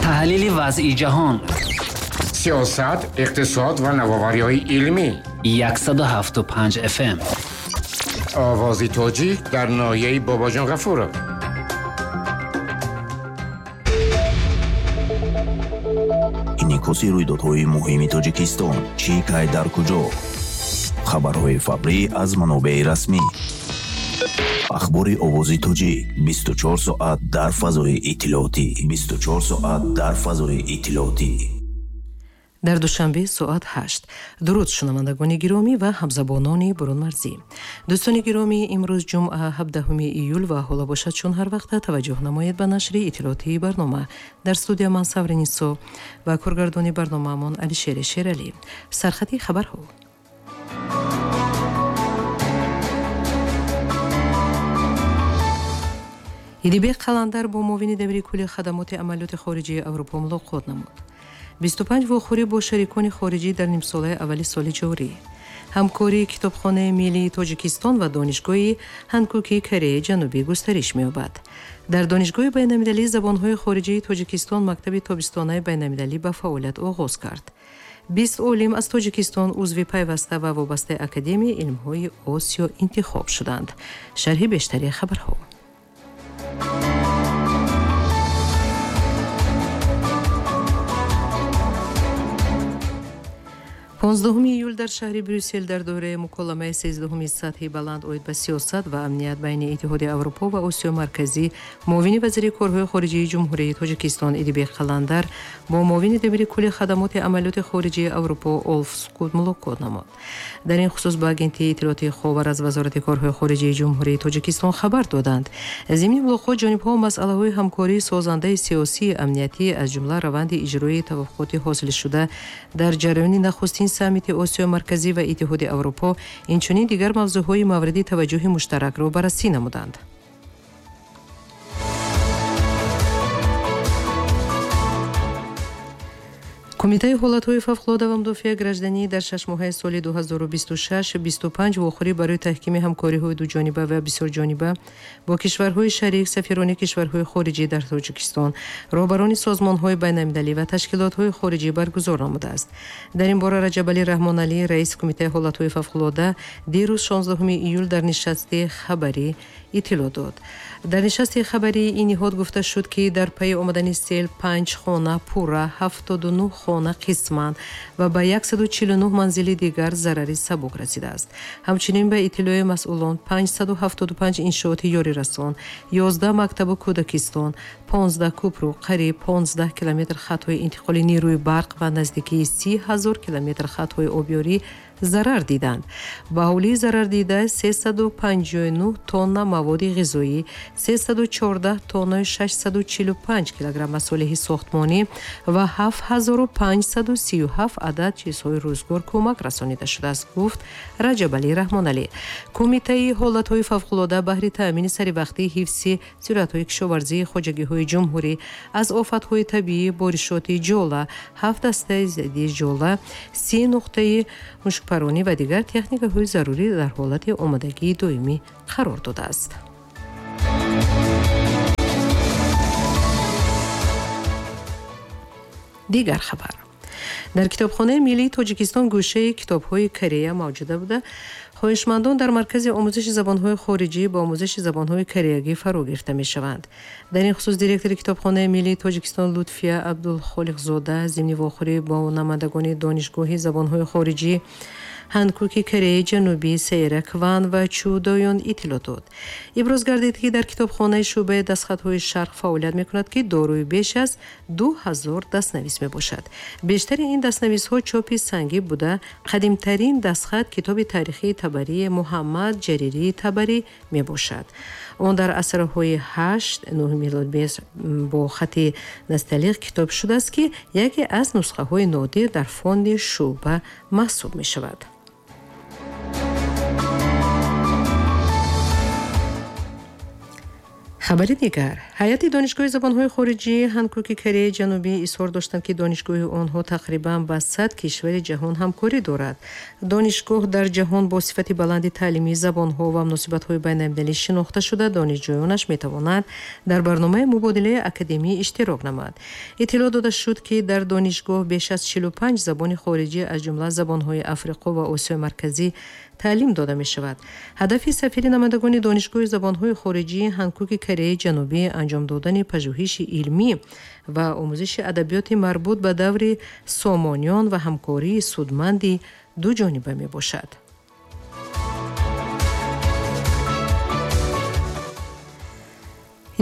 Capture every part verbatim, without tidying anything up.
Таҳлили вазъи ҷаҳон, сиёсат, иқтисод ва навовариҳои илмӣ. Яксаду ҳафту панҷ F M. Овози тоҷик дар ноҳияи Бобоҷон Ғафуров. Инъикоси рӯйдодҳои муҳими Тоҷикистон, чӣ кай дар куҷо. Хабарҳои фаврӣ аз манобеи расмӣ. Ахбори овози тоҷик бисту чор соат дар фазои иттилоотӣ. Бисту чор соат дар фазои иттилоотӣ. Дар душанбе соат ҳашт. Дуруд шунавандагони гиромӣ ва ҳамзабонони бурунмарзӣ. Дӯстони гиромӣ, имрӯз ҷумъа ҳабдаҳуми июл ва ҳоло бошад чун ҳар вақта таваҷҷӯҳ намоед ба нашри иттилоотии барнома. Дар студия ман Савринисо ва коргардони барномаамон Алишери Шералӣ. Сархати хабарҳо. Идибек Қаландар бо муовини дабири кулли хадамоти амалиёти хориҷии Аврупо мулоқот намуд. Бисту панҷ вохӯрӣ бо шарикони хориҷӣ дар нимсолаи аввали соли ҷорӣ. Ҳамкории китобхонаи миллии Тоҷикистон ва донишгоҳи Ҳанкукии Кореяи Ҷанубӣ густариш меёбад. Дар донишгоҳи байналмилалии забонҳои хориҷии Тоҷикистон мактаби тобистонаи байналмилалӣ ба фаъолият оғоз кард. Бист олим аз Тоҷикистон узви пайваста ва вобастаи Академияи илмҳои Осиё интихоб шуданд. Шарҳи бештари хабарҳо. понздаҳуми июл дар шаҳри Брюссел дар доираи муколамаи сездаҳуми сатҳи баланд оид ба сиёсат ва амният байни Иттиҳоди Аврупо ва Осиёи Марказӣ муовини вазири корҳои хориҷии Ҷумҳурии Тоҷикистон Идибек Қаландар бо муовини дабири кулли хадамоти амалиёти хориҷии Аврупо Олф Скут мулоқот намуд. Дар ин хусус ба агентии иттилоотии Ховар аз Вазорати корҳои хориҷии Ҷумҳурии Тоҷикистон хабар доданд. Зимни мулоқот ҷонибҳо масъалаҳои ҳамкории созандаи сиёсии амниятӣ аз ҷумла раванди иҷрои тавофуқоти ҳосилшуда дар ҷараёни нахустин саммити Осиёи Марказӣ ва Иттиҳоди Аврупо, инчунин дигар мавзӯъҳои мавриди таваҷҷӯҳи муштаракро баррасӣ намуданд. Кумитаи ҳолатҳои фавқулода ва мудофиаи гражданӣ дар шашмоҳаи соли ду ҳазору бисту шаш бисту панҷ вохӯрӣ барои таҳкими ҳамкориҳои дуҷониба ва бисёрҷониба бо кишварҳои шарик, сафирони кишварҳои хориҷӣ дар Тоҷикистон, роҳбарони созмонҳои байналмилалӣ ва ташкилотҳои хориҷӣ баргузор намудааст. Дар ин бора Раҷабалӣ Раҳмоналӣ, раиси Кумитаи ҳолатҳои фавқулода, дирӯз шонздаҳуми июл дар нишасти хабарӣ иттилоъ дод. Дар нишасти хабарии ин ниҳод гуфта шуд, ки дар пайи омадани сел панҷ хона пурра, ҳафтоду нӯҳ хона қисман ва ба яксаду чилу нӯҳ манзили дигар зарари сабук расидааст. Ҳамчунин ба иттилои масъулон панҷсаду ҳафтоду панҷ иншооти ёрирасон, ёздаҳ мактабу кӯдакистон, понздаҳ кӯпру, қариб понздаҳ километр хатҳои интиқоли нерӯи барқ ва наздикии си ҳазор километр хатҳои обёрӣ зарар диданд. Ба ҳавлии зарардида сесаду панҷоҳу нӯҳ тонна маводи ғизоӣ, сесаду чордаҳ тоннаи шашсаду чилу панҷ килограмм масолеҳи сохтмонӣ ва ҳафт ҳазору панҷсаду сию ҳафт адад чизҳои рӯзгор кӯмак расонида шудааст, гуфт Раҷабалӣ Раҳмоналӣ. Кумитаи ҳолатҳои фавқулода баҳри таъмини саривақтии ҳифзи зироатҳои кишоварзии хоҷагиҳои ҷумҳурӣ аз офатҳои табиӣ, боришоти ҷола, ҳафт дастаи зидди ҷола, си нуқтаи мушкпаронӣ ва дигар техникаҳои зарурӣ дар ҳолати омодагии доимӣ қарор додааст. Дигар хабар. Дар китобхонаи миллии Тоҷикистон гӯшаи китобҳои Корея мавҷуда буда, хоҳишмандон дар маркази омӯзиши забонҳои хориҷӣ ба омӯзиши забонҳои кореягӣ фаро гирифта мешаванд. Дар ин хусус директори китобхонаи миллии Тоҷикистон Лутфия Абдулхолиқзода зимни вохӯрӣ бо намояндагони донишгоҳи забонҳои хориҷӣ Ҳанкуки Кореяи Ҷанубӣ, Сейра Кван ва Чу Доён иттилоъ дод. Иброз гардид, ки дар китобхонаи шӯъбаи дастхатҳои шарқ фаъолият мекунад, ки дорои беш аз ду ҳазор дастнавис мебошад. Бештари ин дастнависҳо чопи сангӣ буда, қадимтарин дастхат китоби таърихии Табарии Муҳаммад Ҷаририи Табарӣ мебошад. Он дар асрҳои ҳашт нӯҳ милод бо хати насталиқ китоб шудааст, ки яке аз нусхаҳои нодир дар фонди шӯъба маҳсуб мешавад. Хабари дигар. Ҳайати донишгоҳи забонҳои хориҷии Ҳанкуки Кореяи Ҷанубӣ изҳор доштанд, ки донишгоҳи онҳо тақрибан ба сад кишвари ҷаҳон ҳамкорӣ дорад. Донишгоҳ дар ҷаҳон бо сифати баланди таълимии забонҳо ва муносибатҳои байналмилалӣ шинохта шуда, донишҷӯёнаш метавонанд дар барномаи мубодилаи академӣ иштирок намояд. Иттилоъ дода шуд, ки дар донишгоҳ беш аз чилу панҷ забони хориҷӣ аз ҷумла забонҳои Африқо ва Осиёи Марказӣ таълим дода мешавад. Ҳадафи сафири намояндагони донишгоҳи забонҳои хориҷии Ҳанкуки Кореяи Ҷанубӣ анҷом додани пажӯҳиши илмӣ ва омӯзиши адабиёти марбут ба даври сомониён ва ҳамкории судманди дуҷониба мебошад.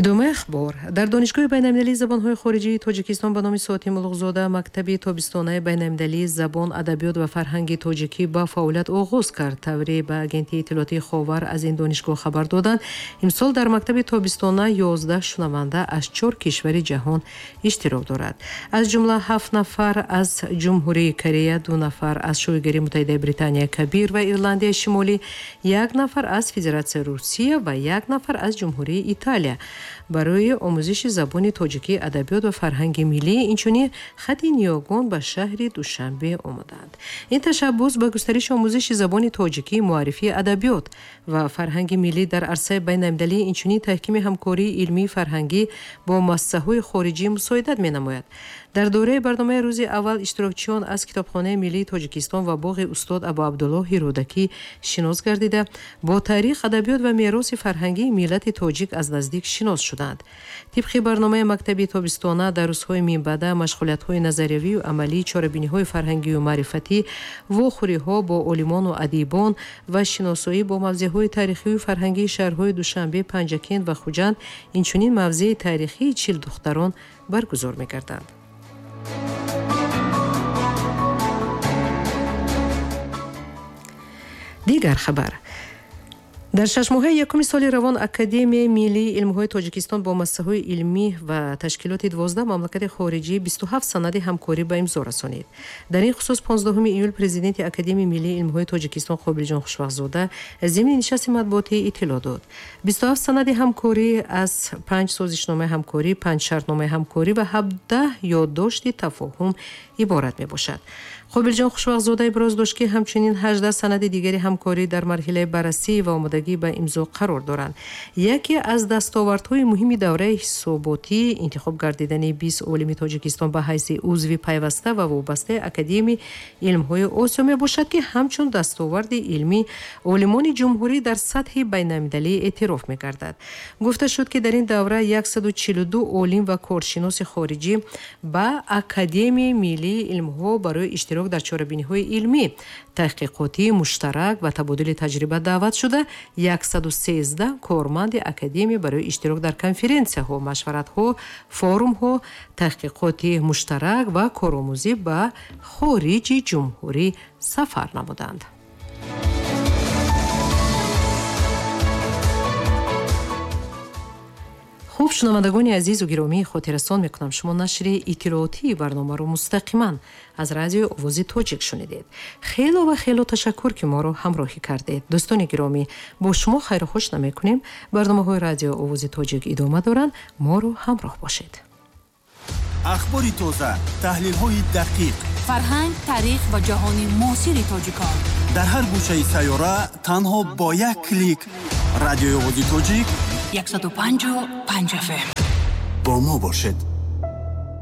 Идомаи ахбор. Дар донишгоҳи байналмилалии забонҳои хориҷии Тоҷикистон ба номи Соати Мулуқзода мактаби тобистонаи байналмилалии забон, адабиёт ва фарҳанги тоҷикӣ ба фаъолият оғоз кард. Тавре ба агентии иттилоотии Ховар аз ин донишгоҳ хабар доданд, имсол дар мактаби тобистона ёздаҳ шунаванда аз чор кишвари ҷаҳон иштирок дорад. Аз ҷумла ҳафт нафар аз Ҷумҳурии Корея, ду нафар аз Шоҳигарии Муттаҳидаи Британияи Кабир ва Ирландияи Шимолӣ, як нафар аз Федератсияи Русия ва як нафар аз Ҷумҳурии Италия. Барои омӯзиши забони тоҷикӣ, адабиёт ва фарҳанги миллӣ, инчунин хати ниёгон ба шаҳри Душанбе омаданд. Ин ташаббус ба густариши омӯзиши забони тоҷикӣ, муаррифии адабиёт ва фарҳанги миллӣ дар арсаи байналмилалӣ, инчунин таҳкими ҳамкории илмии фарҳангӣ бо муассисаҳои хориҷӣ мусоидат менамояд. Дар доираи барномаи рӯзи аввал иштирокчиён аз Китобхонаи миллии Тоҷикистон ва боғи устод Абуабдуллоҳи Рӯдакӣ шинос гардида, бо таърих, адабиёт ва мероси фарҳангии миллати тоҷик аз наздик шинос шуданд. Тибқи барномаи мактаби тобистона дар рӯзҳои минбаъда машғулиятҳои назариявию амалӣ, чорабиниҳои фарҳангию маърифатӣ, вохӯриҳо бо олимону адибон ва шиносоӣ бо мавзеъҳои таърихию фарҳангии шаҳрҳои Душанбе, Панҷакент ва Хуҷанд, инчунин мавзеи таърихии чил духтарон баргузор мегарданд. Дигар хабар. Дар шашмоҳаи якуми соли равон Академияи миллии илмҳои Тоҷикистон бо муассисаҳои илмӣ ва ташкилоти дувоздаҳ мамлакати хориҷӣ бисту ҳафт санади ҳамкорӣ ба имзо расонид. Дар ин хусус понздаҳуми июл президенти Академияи миллии илмҳои Тоҷикистон Қобилҷон Хушвақтзода зимни нишасти матбуотӣ иттилоъ дод. бисту ҳафт санади ҳамкорӣ аз панҷ созишномаи ҳамкорӣ, панҷ шартномаи ҳамкорӣ ва ҳабдаҳ ёддошти тафоҳум иборат мебошад. Қобилҷон Хушвақтзода иброз дошт, ки ҳамчунин ҳаждаҳ санади дигари ҳамкорӣ дар марҳилаи баррасӣ ва омодагӣ ба имзо қарор доранд. Яке аз дастовардҳои муҳими давраи ҳисоботӣ интихоб гардидани бист олими Тоҷикистон ба ҳайси узви пайваста ва вобастаи Академияи илмҳои Осиё мебошад, ки ҳамчун дастоварди илмӣ олимони ҷумҳурӣ дар сатҳи байналмилалӣ эътироф мегардад. Гуфта шуд, ки дар ин давра яксаду чилу ду олим ва коршиноси хориҷӣ ба Академияи миллии илмҳо барои иштирок дар чорабиниҳои илмӣ, таҳқиқотии муштарак ва табодули таҷриба даъват шуда, яксаду сездаҳ корманди академия барои иштирок дар конференсияҳо, машваратҳо, форумҳо, таҳқиқоти муштарак ва коромӯзӣ ба хориҷи ҷумҳурӣ сафар намуданд. Хуб, шунавандагони азизу гиромӣ, хотиррасон мекунам, шумо нашри иттилоотии барномаро мустақиман аз радиои Овози Тоҷик шунидед. Хело ва хело ташаккур, ки моро ҳамроҳӣ кардед. Дӯстони гиромӣ, бо шумо хайру хуш намекунем. Барномаҳои радиои Овози Тоҷик идома доранд. Моро ҳамроҳ бошед. Ахбори тоза, таҳлилҳои дақиқ, фарҳанг, таърих ва ҷаҳони муосири тоҷикон дар ҳар гӯшаи сайёра танҳо бо як клик. Радиои Овози Тоҷик яксаду панҷу панҷ эф эм. Бо мо бошед.